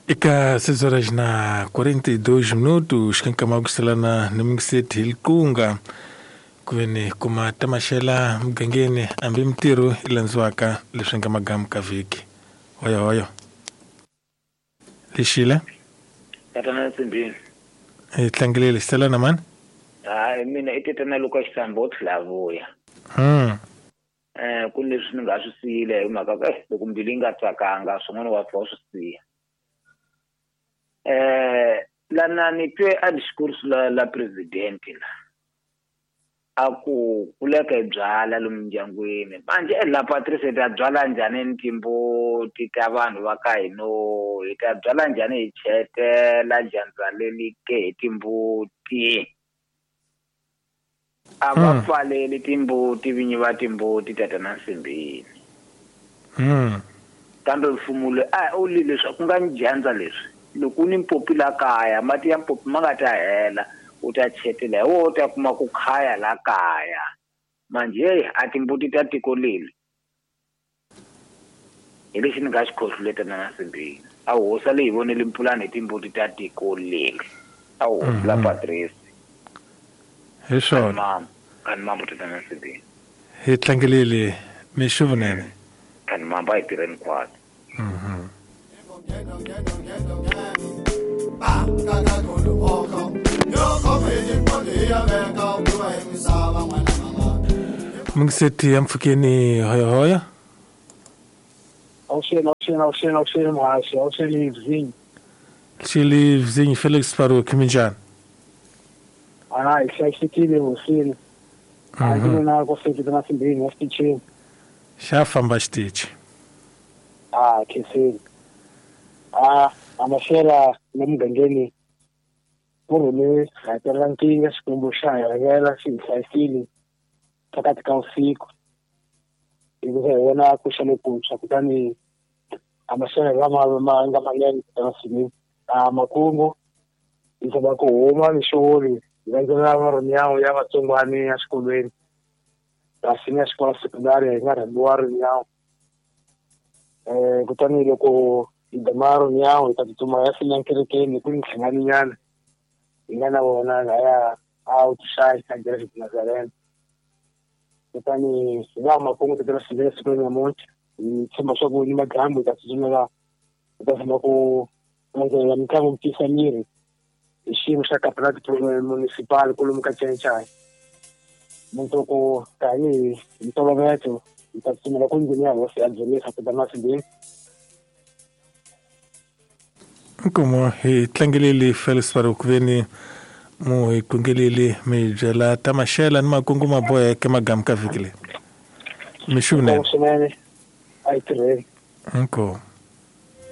Eka 6 horas na 42 minutos xikan'we kuselana ni mingiseti hi likunga ku ve ni kuma tamaxela mugangeni hambi mintirho yi landziwaka leswi nga magamu ka vhiki hoyo hoyo lexile Tatana Nsimbini. Hi tlangelele xiselana mani. Hayi mina i tatana Luka Xisamba wo tlhela vuya. Ku leswi ni nga swi siyile hi mhaka ku eh loko mbilu yi nga tsakanga swin'wana wa pfa u swi siya. Lana ni twe a discourse la la president la. A ku kuleka hi byala lomu mindyangwini manje eh, la Patrice hi ta byala njhani ni timbuti ta vanhu va ka hino hi ta byala njhani hi chetela dyandza leli ke hi timbuti a va pfaleli timbuti vinyi va timbuti tatana Nsimbini kambe mfumo loyi a u li leswi ku nga ni dyandza leswi loko u ni mpopi la kaya mati ya mpopi ma nga ta hela u ta chetela hi woho u ta kuma ku khaya la kaya manje heyi a timbuti ta tiko leli hi lexi ni nga xi khohlule tatana Nsimbini a hosi a le hi voneli mpulani hi timbuti ta tiko leli a hosi la Patrice Hi swona. Kani kani mambo tatana Nsimbini. Hi tlangelele mixo vunene. Kani mambo a hi tirheni khwatsi. Mungiseti ya mpfhukeni hoyohoyo. Awuxeni, awuxeni, awuxeni, awuxeni muhaxi, awuxeni Vzinyi. Xili Vzinyi Felix Farouk minjhani? A hi hlayisekile hosini. A ndzi vona ku seketa na simbini ya xitichini. Xa famba xitichi. A khenseni. A a maxela la mugangeni ku rhule hakelela nkingha Xikwembu xa hi rhangela xi hi hlayisile phakathi ka vusiku. Hikuva hi vona ku xa lokuntshwa kutani a maxelo lama ma nga manene emasin'wini a makungu hi zama ku huma mixoli hi landzelela marinyawo ya vatsongwani ya xikolweni kasi ni ya xikolo sekondari hi nga rhambiwa rinyawo um kutani loko hi dama rinyawo hi ta tsutsuma ya fina kerekeni ku ni nhlanganinyana hi nga na vona laya a utuxayi a Igreja de Nazaré kutani hi laha makungu tatana sivile siku ra namuntlha hi tshemba swa ku ni madyambu hi ta tsutsumela hi ta tshama ku landzelela mitlangu ku tiyisa miri hi xiyimo xa kapilati municipal kwalomu ka Cencai mundzuku tanihi hi ntolovelo hi ta tsutsumela ku ndlwini ya hosi ya dzunisa tatana Sibini Inkomu hi tlangeleli Felix Farukuveni mu hi kungeleli mi byela ta maxela ni makungu ma boheke magamu ka vhiki leyi. Mixo vunene. Inkomu swinene a yi tirheni. Inkomu.